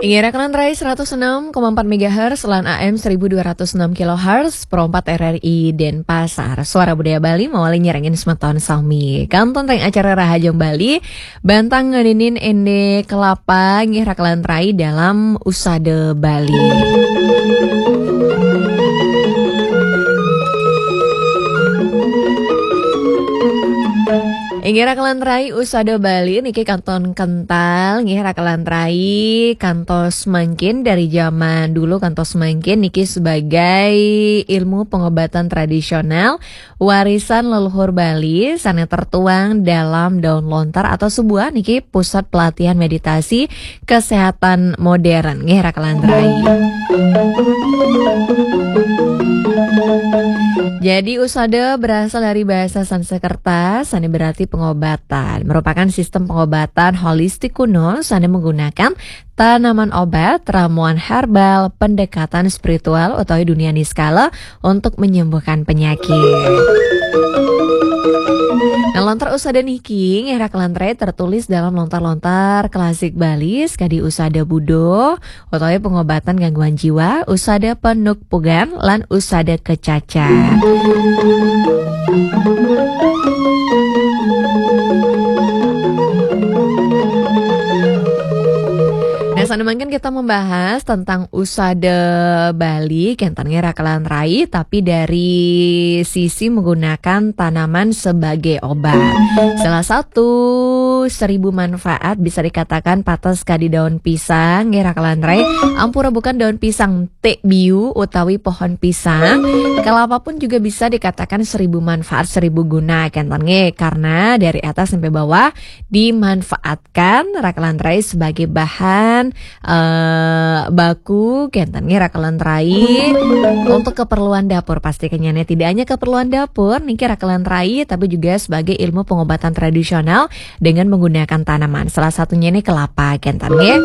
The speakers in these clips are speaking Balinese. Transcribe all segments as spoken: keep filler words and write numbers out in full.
Inggih, Rakalan Rai seratus enam koma empat megahertz lan A M seribu dua ratus enam kilohertz, Pro empat R R I Denpasar. Suara Budaya Bali mawali nyarengin semeton sami. Kantun teng acara Rahajeng Bali, bantang ngeninin ende kelapa, nggih, Rakalan Rai, dalam Usada Bali. Inggih, Rakalan Rai, Usada Bali niki kantun kental, nggih, Rakalan Rai, kantos mangkin, dari zaman dulu kantos mangkin niki sebagai ilmu pengobatan tradisional warisan leluhur Bali, sane tertuang dalam daun lontar atau sebuah niki pusat pelatihan meditasi kesehatan modern, nggih, Rakalan Rai. Jadi, Usada berasal dari bahasa Sanskerta, sane berarti pengobatan. Merupakan sistem pengobatan holistik kuno, sane menggunakan tanaman obat, ramuan herbal, pendekatan spiritual utawi dunia niskala untuk menyembuhkan penyakit. Nah, lontar Usada niki, nggih, Rakalan Rai, tertulis dalam lontar-lontar klasik Bali, sekadi Usada Budo, utawi pengobatan gangguan jiwa, Usada Penukpugan, lan Usada Kecaca. Nah, sane mangkin kita membahas tentang Usada Bali, kenten nggih, Rakalan Rai, tapi dari sisi menggunakan tanaman sebagai obat. Salah satu seribu manfaat bisa dikatakan patos kadi daun pisang, nggih, Rakalan Rai. Ampura bukan daun pisang, te biu utawi pohon pisang. Kelapa pun juga bisa dikatakan seribu manfaat, seribu guna, kenten nggih, karena dari atas sampai bawah dimanfaatkan, Rakalan Rai, sebagai bahan, eh, baku, kenten nggih, Rakalan Rai, untuk keperluan dapur. Pasti kenyane tidak hanya keperluan dapur niki, Rakalan Rai, tapi juga sebagai ilmu pengobatan tradisional dengan menggunakan tanaman. Salah satunya ini kelapa, kenten nggih.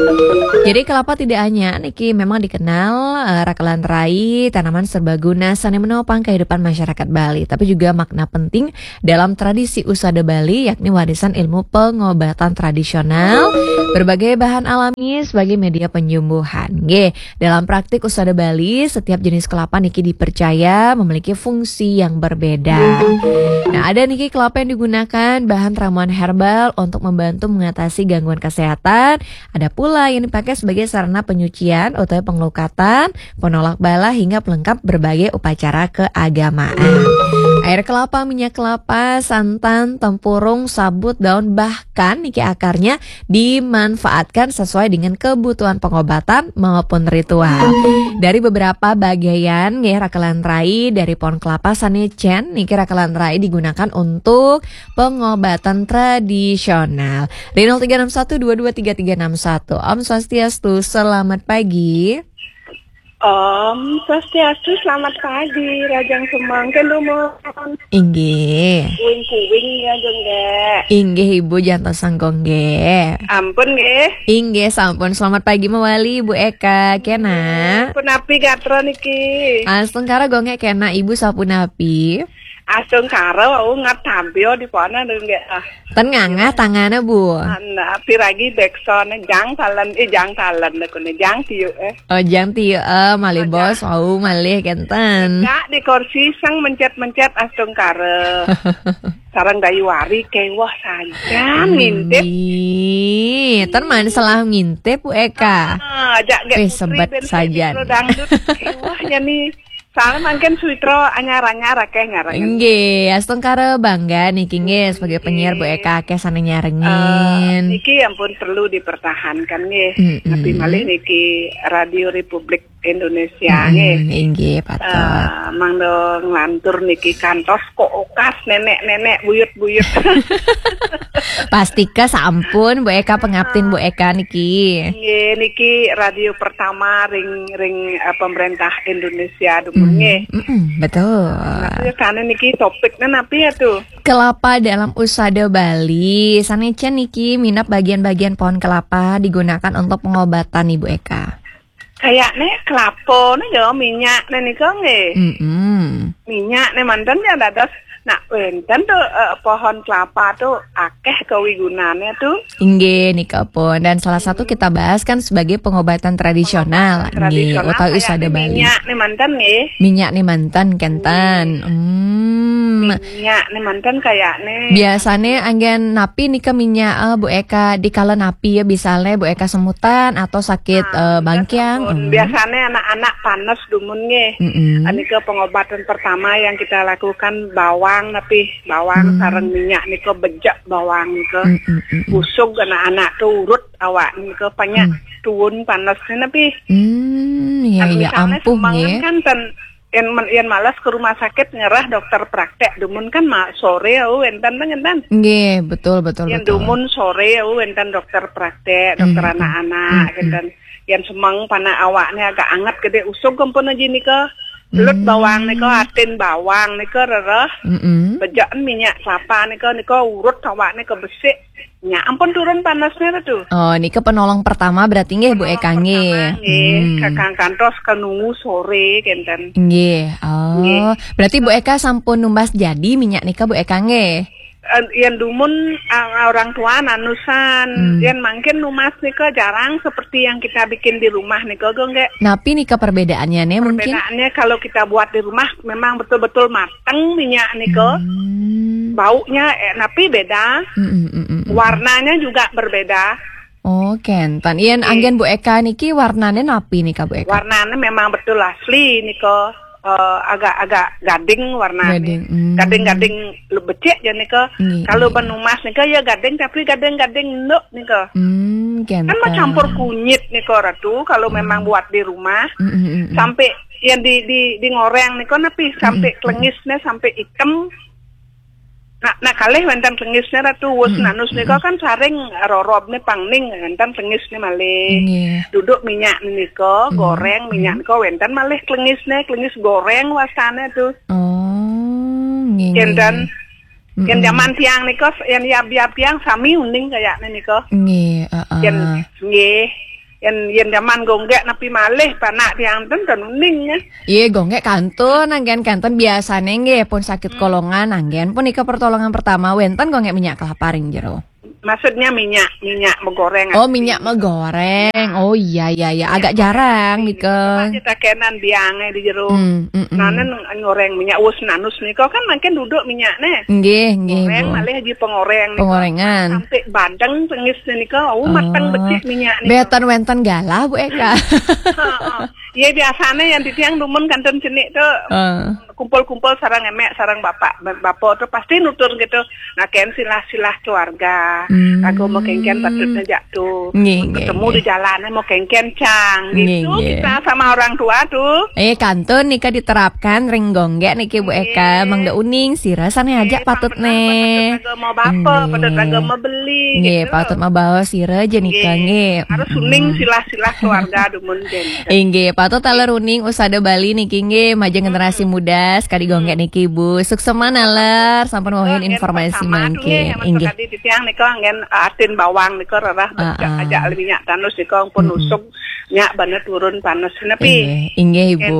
Jadi, kelapa tidak hanya niki memang dikenal, eh, Rakalan Rai, tanaman serbaguna sane menopang kehidupan masyarakat Bali, tapi juga makna penting dalam tradisi Usada Bali, yakni warisan ilmu pengobatan tradisional, berbagai bahan alami sebagai media penyembuhan. Nggih, dalam praktik Usada Bali, setiap jenis kelapa niki dipercaya memiliki fungsi yang berbeda. Nah, ada niki kelapa yang digunakan bahan ramuan herbal untuk membantu mengatasi gangguan kesehatan. Ada pula yang dipakai sebagai sarana penyucian atau pengelukatan, penolak bala, hingga pelengkap berbagai upacara keagamaan. Air kelapa, minyak kelapa, santan, tempurung, sabut, daun, bahkan niki akarnya dimanfaatkan sesuai dengan kebutuhan pengobatan maupun ritual. Dari beberapa bagian nggih, Rakalan Rai, dari pohon kelapa sane cen niki, Rakalan Rai, digunakan untuk pengobatan tradisional. Di nol tiga enam satu dua dua tiga tiga enam satu. Om Swastiastu, selamat pagi. Om Swastiastu, selamat pagi, Rajang Semangke Lumon. Inggih. Kuing-kuing ya, Jong, nggih. Inggih, Ibu, jantos sangkong nggih. Ampun nggih. Inggih, sampun. Selamat pagi mawali, Ibu Eka. Kena. Punapi gatra niki? Astungkara, gonge kena, Ibu, sapunapi? Astungkara, wau ngat tampio di pona nggih. Ah. Ten ngangah tangane, Bu. Ana piragi beksone jang talen, eh, jang talen kune, jang tiuke. Oh, jang tiuke, eh, malih bos, wau malih kenten. Dak di kursi sang mencet-mencet astungkara. Sareng Dayu Wari kewah sajan ngintip. Ih, ten man salah ngintip, Bu Eka. Ah, ajak gek putri sebet ben sajan. Dangdut kewah ya nih. Soalnya mangkin suitra anyar-anyar akeh nyarengin. Nggih, astungkara bangga niki nggih sebagai penyiar, Bu Eka, akeh sane nyarengin. Eh, niki ampun perlu dipertahankan nggih. Mm-mm. Tapi malih niki Radio Republik Indonesia nggih. Mm-mm, inggih, patut. Eh, mangda nglantur niki kantos kok okas nenek-nenek buyut-buyut. Pastika sampun, Bu Eka, pengabdin Bu Eka niki. Nggih, niki radio pertama ring, ring, eh, pemerintah Indonesia dumun nggih. Mm-mm, betul. Nah, sane niki topiknya napi ya tuh? Kelapa dalam Usada Bali. Sane cen niki minab bagian-bagian pohon kelapa digunakan untuk pengobatan, Ibu Eka. Kayakne kelapa ne ya minyak ne nika nggih. Mm-mm. Minyak ne manten ya dados Nah, wénten tuh, eh, pohon kelapa tuh akéh kawigunannya tuh. Inggih, nika pun. Dan salah satu kita bahas kan sebagai pengobatan tradisional. Nggih, utawi usada Bali. Minyak nih mantan nggih. Minyak nih mantan kenten. Hmm. Minyak nih mantan kayaknya. Biasanya anggen napi nika minyak, eh, Bu Eka, dikala napi ya, misalnya Bu Eka semutan atau sakit, eh, bangkiang. Hmm. Biasanya anak-anak panas dumun nggih. Mm-mm. Nika pengobatan pertama yang kita lakukan bawang napi, bawang Hmm. sareng minyak nika bejek bawang nika. Mm-mm-mm. Usug anak-anak tuh urut awak nika banyak tuun panasnya napi. Hmm, ya, ya, Misalnya ampuh semangan nggih. Kan ten yang, yang malas ke rumah sakit ngerah dokter praktek dumun kan ma, sore ya wénten ten ngenten. Nggih, betul, betul, Yang betul. Dumun sore ya wénten dokter praktek, dokter Hmm. anak-anak, Hmm. Ngenten. Yang semeng panak awaknya agak anget gede usug kempun aja nika. Lut Hmm. Bawang nika, atin bawang nika rereh. Mm-mm. Bejakan minyak kelapa nika, nika urut awaknya ke besik. Nya ampun turun panasnya tuh. Oh, nika penolong pertama berarti nggih Bu Eka nggih. Pertama nggih, Hmm. kakang kantos ke nunggu sore kenten. Nggih. Oh, berarti Bu Eka sampun numbas jadi minyak nika Bu Eka nggih. Eh, yang dumun, eh, orang tua nanusan, Hmm. Yang mungkin numas nika jarang seperti yang kita bikin di rumah nika, Gong, nggih. Napi nika perbedaannya nih mungkin? Perbedaannya kalau kita buat di rumah memang betul-betul mateng minyak nika. Hmm. Baunya eh, napi beda, Mm-mm, mm-mm, mm-mm. Warnanya juga berbeda. Oh, kenten. Yen Nggih. Anggen Bu Eka niki warnane napi nika Bu Eka? Warnanya memang betul asli nika, eh, agak-agak gading warnanya. Gading, hmm. Gading-gading lu becik ya nika. Nggih, Kalau nggih. Benumas nika ya gading tapi gading-gading enduk nika. Hmm, kenten. Kan mau campur kunyit nika Ratu kalau memang buat di rumah. Mm-mm, mm-mm. Sampai yang di di di ngoreng nika napi sampai Mm-mm. Kelengisnya sampai hitam. Nah, nah kalih wénten Kelengisnya Ratu wus Mm-mm, nanus nika kan saring rorobne pangning wénten Kelengisnya malih. Nggih. Duduk minyak nika, Mm-mm. goreng minyak nika wénten malih Kelengisnya, Kelengis goreng wastane tuh. Oh, nggih. Kenten. Mm-mm. Yang zaman tiang nika, yang yab-yab tiang sami uning kayaknya nika. Nggih, heeh. Yang nggih. Yang yang zaman gonggek napi malih panak tiang ten ten uning ya. Iya, gonggek kantun, anggen kenten biasane nggih pun sakit kolongan, anggen pun nika pertolongan pertama wénten gonggek minyak kelapa ring jero. Maksudnya minyak, minyak menggoreng. Oh, minyak menggoreng. Oh iya iya iya, agak jarang nika. Kita kenan biangnya di jero. Hmm, mm, mm. Nah, nen ngoreng minyak wus nanus nika kan makin duduk minyaknya. Nggih, nggih, Goreng Bu. Malih aja pengoreng nika. Pengorengan. Sampai badeng tengis nika, oh mateng Oh. becik minyak nika. Betan wénten galah Bu Eka. Heeh. Iya biasanya yang di tiang dumun kanten cenik tuh Eh. kumpul-kumpul sarang emek sarang bapak bapak tuh pasti nutur gitu. Nah, ken silah-silah keluarga. Hmm. Aku mau kengken patutnya jak tuh. Nggih, nggih, Ketemu nggih. Di jalannya mau kengken cang Nggih, gitu. nggih. Kita sama orang tua tuh. Eh, kantun nika diterapkan ring gonggek niki Bu Eka, Nggih. Mangda uning sira sane aja Eh, patut patut nih. Patut mau bapak, patut Nggih. mau beli Nggih, gitu. Patut mabaos sira aja nika nggih. Harus Mm-mm. Uning silah-silah keluarga dumun jen. Inggih, patut taler uning usada Bali niki nggih, majeng generasi muda sekali gonggek niki Bu. Suksema naler sampun wawahin informasi mangkin. Inggih. Tadi di tiang nika anggen atin bawang nika rerah becek aja minyak tanus nika pun usuk nyak banget turun panas nepi. Inggih, inggih Ibu.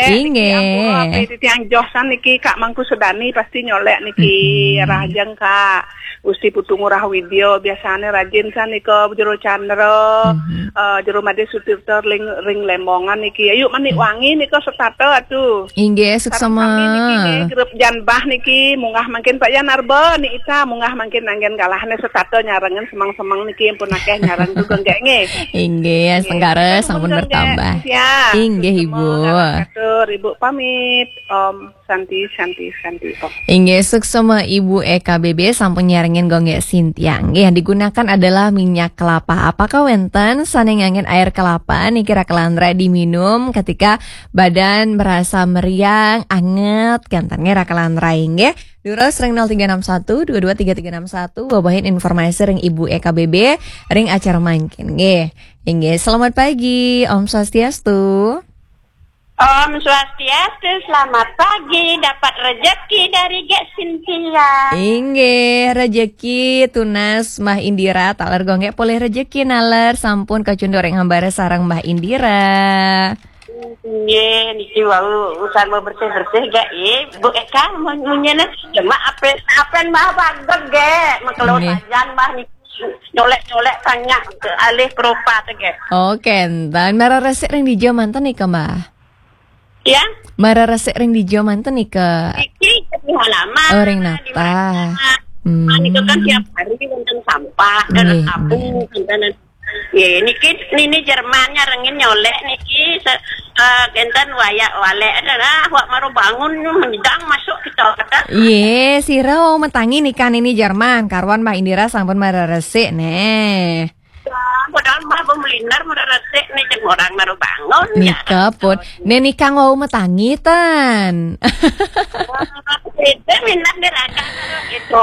Inggih. Di tiang joh san niki Kak Mangku Sedani pasti nyolek niki. Rahajeng Kak. Gusti Putu Ngurah Widya biasane rajin sanika Jero Candra, eh, Jero Madé Sutirta ring, ring Lembongan niki. Ayo manik wangi nika setata atuh. Inggih, suksema. Sareng sami niki nggih, grup Janbah niki munggah mangkin Pak Yan Arba ni ita munggah mangkin anggen galahne setata nyarengen semang-semang niki ampun akeh nyareng tu genggek nggih. Inggih, sengkara sampun bertambah. Inggih, Ibu. Atur Ibu pamit. Om Santi, Santi, Santi. Om. Inggih, suksema Ibu E K B B sampun nyarengin gonggek Sintia. Nggih, yang digunakan adalah minyak kelapa. Apakah wenten sane nganggen air kelapa niki Raka Landra diminum ketika badan merasa meriang, anget, kenten nggih Raka Landra nggih. Durus ring nol tiga enam satu dua dua tiga tiga enam satu, wawahin informasi ring Ibu E K B B ring acara mangkin nggih. Inggih, selamat pagi, Om Swastiastu. Om Swastiastu, selamat pagi, dapat rezeki dari Gek Sintia. Inggih, rezeki tunas Mbah Indira, taler gonggek polih rezeki naler, sampun kacunduk ring hambara sareng Mbah Indira. Nggih, niki wau urusan mau bersih-bersih gak, eh, Bu Eka, mau ngunyin, cuma apa, apa mah bageg gak, mengkelo Nggih. Sajan mah niki nyolek-nyolek tanya ke alih keropat gak. Oh, kenten. Mara resik ring dija manten nika, Mbah? Ya? Mara resik ring dija manten nika? Niki di halaman. Oh, ring di natah. Mana? Hmm. Nika kan tiap hari wonten sampah, dan Nggih, abu, nggih. Wonten Nggih, niki nini Jerman nyarengin nyolek niki se-, eh, kenten waya walek adalah wak maru bangun nyidang masuk kita kata. Yé, sira wau matangi nika nini Jerman, karuan Mbah Indira sampun mara resik neh. Ya, padahal Mbah pemelinar mara resik nih jeung orang maru bangun. Nika pun. Neh nika wau matangi tan. Itu minat diraga itu.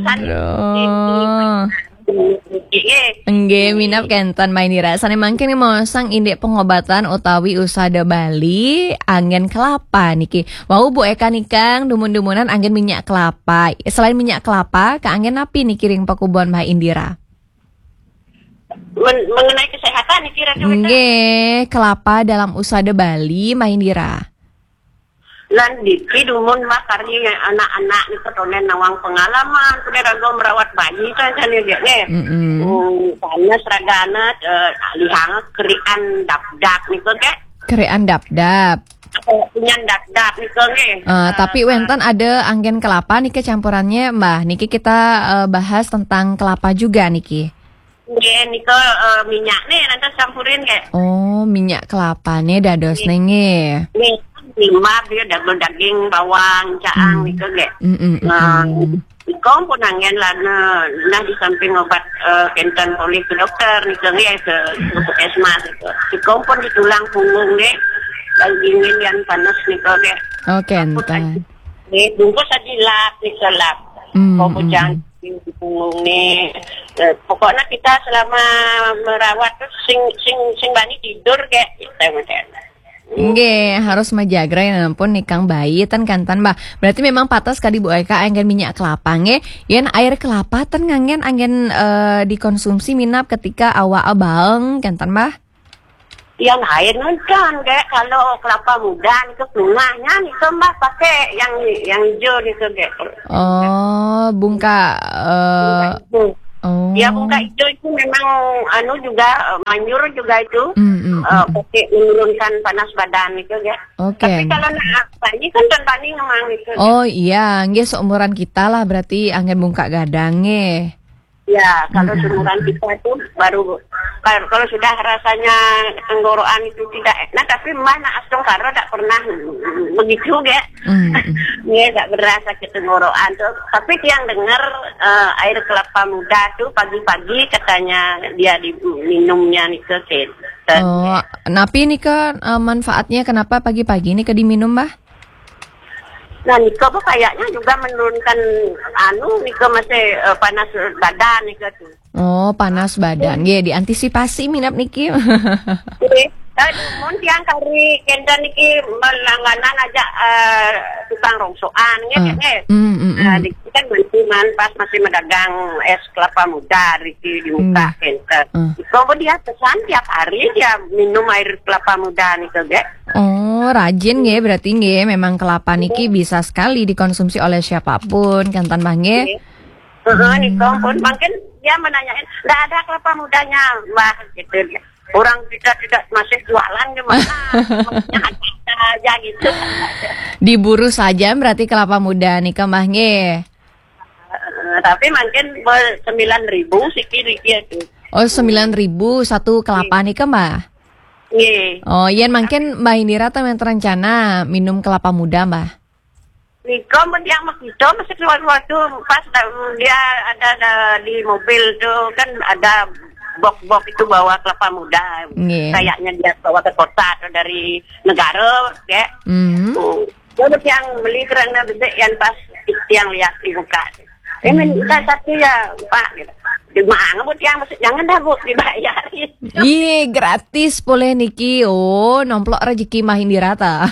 Aduh. Nggih. Nggih, minab kenten, Mbah Indira. Sané mangkin maosang indik pengobatan utawi usada Bali, anggén kelapa niki. Wau Bu Eka nikang dumun-dumunan anggén minyak kelapa. Selain minyak kelapa, kaanggén napi niki ring pakubuhan Mbah Indira? Men-, mengenai kesehatan niki, Ratu Wita? Nggih, kelapa dalam usada Bali, Mbah Indira. Lan niki dumun mah kari anak-anak nika tonden nawang pengalaman, kuda raga merawat bayi kan, kan ya, Dek, nggih. Mm-mm. Hmm, panas ragana, eh, lihang kerian dapdap nika, Dek. Kerian dapdap. Punyan dapdap nika, nggih. Eh, eh, tapi wénten ada anggén kelapa nika campurannya, Mbah. Niki kita, eh, bahas tentang kelapa juga niki. Nggih, nika, eh, minyak nih, nanti campurin, Dek. Oh, minyak kelapa nih dados Nggih. Nih, nggih. Nggih, lima dia daging, daging, bawang, caang Hmm. Nika, nggih. Mm-mm, Nah, mm-mm. Nika pun anggén lah, nah, nah, di samping obat, eh, kenten oleh ke dokter nika, nggih, ke, ke puskesmas nika. Nika pun di tulang punggung, nggih. Daging yang panas nika, nggih. Oh, kenten. Nggih, bungkus aja lap nika, lap. Hmm, Kau hmm, bujang hmm. Di punggung nih. Eh, pokoknya kita selama merawat tuh sing, sing, sing bani tidur, nggih, kita macam. Nggih, harus majagra ya ampun nikang bayi ten kanten, Mbah. Berarti memang patas kadi Bu Eka anggén minyak kelapa nggih. Yén air kelapa ten nganggén anggén, eh, dikonsumsi minab ketika awak baeng kanten, Mbah? Yang air nonton, Dek, kalau kelapa muda itu tengahnya itu, Mbah, pakai yang, yang hijau itu, Dek. Oh, bungka, eh, Bungka hijau. Oh. Ya, bungka hijau itu memang anu juga, eh, manjur juga itu. Hmm, hmm, Eh, hmm. Pakai menurunkan panas badan itu, ya. Oke. Tapi kalau nak tani kan tuan tani memang itu. Oh iya, nggih seumuran kita lah berarti anggén bungka gadang nggih. Ya, kalau Hmm. seumuran kita itu baru kalau, kalau sudah rasanya tenggorokan itu tidak enak, tapi Mbah nak astungkara tak pernah begitu, ya. Hmm. Ya, tak berasa ketenggorokan tuh. Tapi tiang dengar, eh, air kelapa muda tuh pagi-pagi katanya dia diminumnya nih ke kenten. Oh, napi nika, eh, manfaatnya kenapa pagi-pagi nika diminum, Mbah? Nah, nika apa kayaknya juga menurunkan anu nika masih, eh, panas badan nika tuh. Oh, panas badan. Nggih, diantisipasi minab niki. Nggih. Eh, mun tiang kari kenten niki melangganan aja, eh, tukang rongsoan, nggih, Eh, nggih. Hmm, hmm, Nah, hmm. Di kan masih man pas masih medagang es kelapa muda riki di muka Hmm. Kenten. Hmm. Kalau dia pesan tiap hari dia minum air kelapa muda nih, Dek. Oh, rajin nggih berarti nggih. Memang kelapa niki bisa sekali dikonsumsi oleh siapapun, kanten Mbah nggih. Nggih. Heeh, nih, Hmm. Kompon. Mungkin dia menanyain, "Nggak ada kelapa mudanya, Mbah?" Gitu dia. Orang kita tidak masih jualan gimana? Ada aja gitu. Diburu saja berarti kelapa muda nih, Mbah nggih. Eh, tapi mungkin ber-, sembilan ribu sikit-sikit tuh. Oh, sembilan ribu satu kelapa nih, Mbah? Nggih. Oh, yén mungkin Mbah Indira tuh yang terencana minum kelapa muda, Mbah? Nika mun yang makita masih keluar-keluar tuh pas da-, dia ada, ada di mobil tuh kan ada box-box itu bawa kelapa muda. Nggih. Kayaknya dia bawa ke kota atau dari negara, ya. Hmm. Oh. Terus yang beli kerana bebek yang pas yang lihat di muka. Eh, minta satu ya, Pak, gitu. Di mana, Bu, tiang? Jangan dah, Bu, dibayarin. Ih, gratis boleh niki. Oh, nomplok rezeki Mbah Indira ta.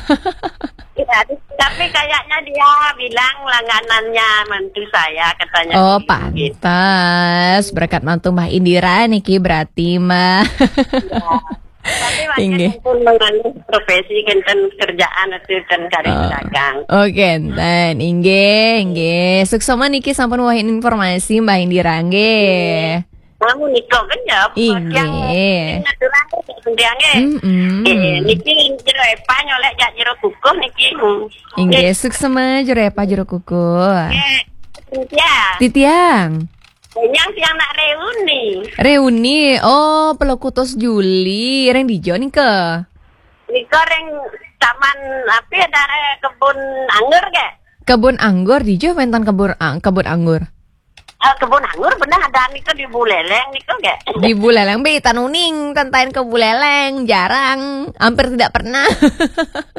Iya, tapi kayaknya dia bilang langganannya mantu saya, katanya. Oh, gitu. Pantas. Berkat mantu Mbah Indira niki berarti, Mbah. Iya. Tapi wajah Inggih. Pun menganu profesi kenten kerjaan atau ten karir Ah. Dagang. Oke, enten. Inggih, inggih. Suksma niki sampun wahin informasi Mbah Indira nggih. Namun niko kan ya, Inggih. Yang naturang, yang nggih. Mm-mm. Eh, niki jero epa nyolek jak jero kukuh niki. Inggih, suksma jero epa jero kukuh. Nggih. Ya. Titiang. Yang tiang nak reuni. Reuni. Oh, puluh kutus Juli. Ring dijo nika? Nika ring taman apa ya, daerah kebun anggur ke? Kebun anggur dijo wenten kebun ang-, kebun anggur. Ah, kebun anggur benar ada nika di Buleleng nika ke? Di Buleleng be tanuning tentain ke Buleleng jarang, hampir tidak pernah.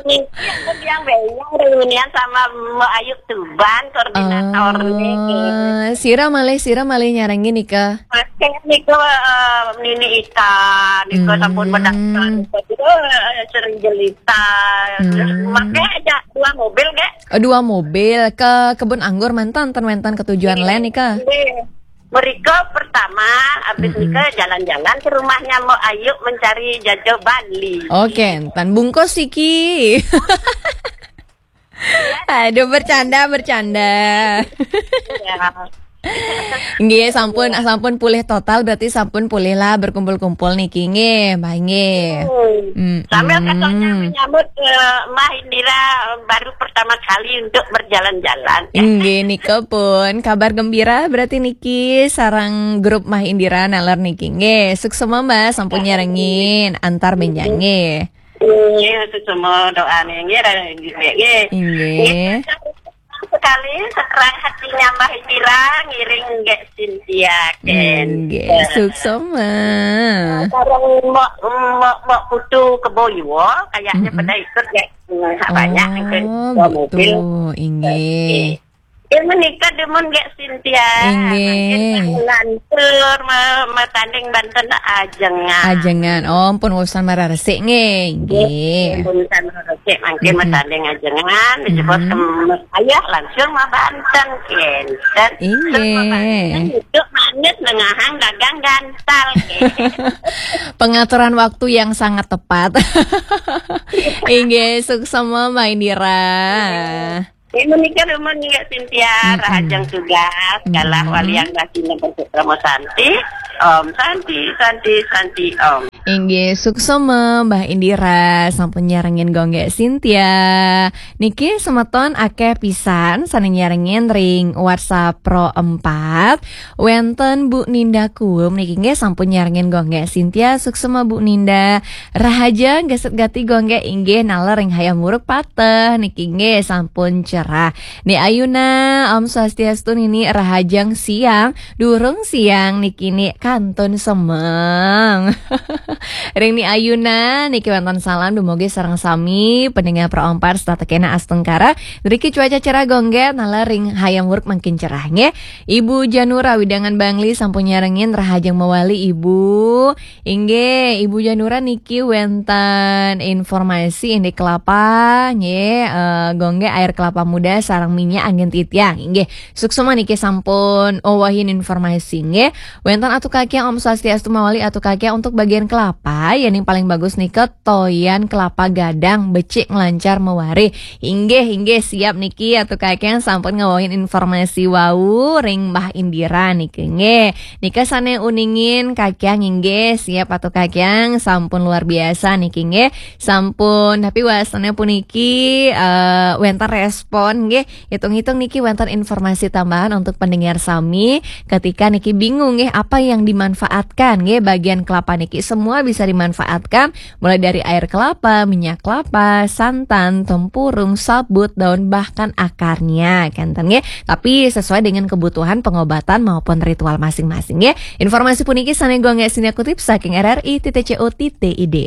Niki aku yang bayang reunian sama Mbak Ayu Tuban, koordinator niki. Oh, sira malih, sira malih nyarengin nika? Pakai niku, eh, Nini Ita, niku sampun mendaftar, niku, eh, sering jelita. Terus pakai aja dua mobil, nggih. Oh, dua mobil ke kebun anggur mantan, ten wenten ketujuan lain nika? Nggih. Mereka pertama, habis nika jalan-jalan ke rumahnya Mbok Ayu mencari jajo Bali. Oke, enten bungkus iki. Aduh, bercanda, bercanda. Ya. Nggih, sampun, sampun pulih total, berarti sampun pulih lah berkumpul-kumpul niki, nggih, Mbah, nggih. Hmm. Sambil katanya menyambut, eh, Mbah Indira baru pertama kali untuk berjalan-jalan. Nggih, nika pun kabar gembira berarti niki sarang grup Mbah Indira naler niki, nggih. Suksma, Mbah, sampun nyarengin antar benjang, nggih. Nggih, suksma doane nggih, nggih, nggih. Nggih. Nggih, sekali seterang hatinya Mbah Indira ngiring nggih Cynthia, Ken. Nggih, suksma. Sareng Mbok, Mbok, Mbok Putu Keboyo, kayaknya pada ikut nggih. Banyak ikut. Oh, dua mobil. Betul, inggih. Nggih. Eh, menika demen nggih Cynthia. Inggih. Mangkin lantur me-, metanding banten ajengan. Ajengan. Oh, pun urusan mararesik nggih. Nggih. Pun urusan mararesik mangkin metanding ajengan, disebut sem-, ayah langsung ma banten kenten. Inggih. Hidup manis nengahang dagang gantal, nggih. Pengaturan waktu yang sangat tepat. Inggih, suksma Mbah Indira. Ini menika rumah nggih Cynthia, rahajeng tugas, galah walian Basina Bersukrama Santi. Om Santi, Santi, Santi, Om. Inggih, suksma Mbah Indira, sampun nyarengin gonggek Cynthia. Niki semeton akeh pisan sane nyarengin ring WhatsApp Pro empat. Wenten Bu Ninda Kuem niki nggih sampun nyarengin gonggek Cynthia, suksma Bu Ninda. Rahaja geset gati gonggek inggih naler ring Hayam Wuruk Pateh niki nggih sampun cerah. Ni Ayuna, Om Swastiastu Nini, rahajeng siang, durung siang niki ni kantun semeng. Ring Ni Ayuna niki wenten salam dumugi sareng sami pendengar Pro empat setata kena astungkara. Driki cuaca cerah gonggek naler ring Hayam Wuruk mangkin cerah nggih. Ibu Janura widangan Bangli sampun nyarengin rahajeng mawali Ibu. Inggih, Ibu Janura niki wenten informasi indik kelapa nggih, eh, gonggek air kelapa muda sareng minyak anggen titiang. Inggih, suksma niki sampun owahin informasi nggih. Wenten Atu Kakiang, Om Swastiastu mawali Atu Kakiang, untuk bagian kelapa, ya ning paling bagus nika toyan kelapa gadang becik nglancar mawari. Inggih, inggih, siap niki Atu Kakiang sampun ngawahin informasi wau ring Mbah Indira niki nggih. Nika sane uningin Kakiang inggih, siap Atu Kakiang sampun luar biasa niki nggih. Sampun, tapi wasane puniki, eh, wenten respon nggih. Hitung-hitung niki wenten informasi tambahan untuk pendengar sami ketika niki bingung nggih apa yang dimanfaatkan nggih, bagian kelapa niki semua bisa dimanfaatkan, mulai dari air kelapa, minyak kelapa, santan, tempurung, sabut, daun, bahkan akarnya, kenten nggih. Tapi sesuai dengan kebutuhan pengobatan maupun ritual masing-masing nggih. Informasi puniki sane gonggek Cynthia kutip saking R R I titik C O titik I D.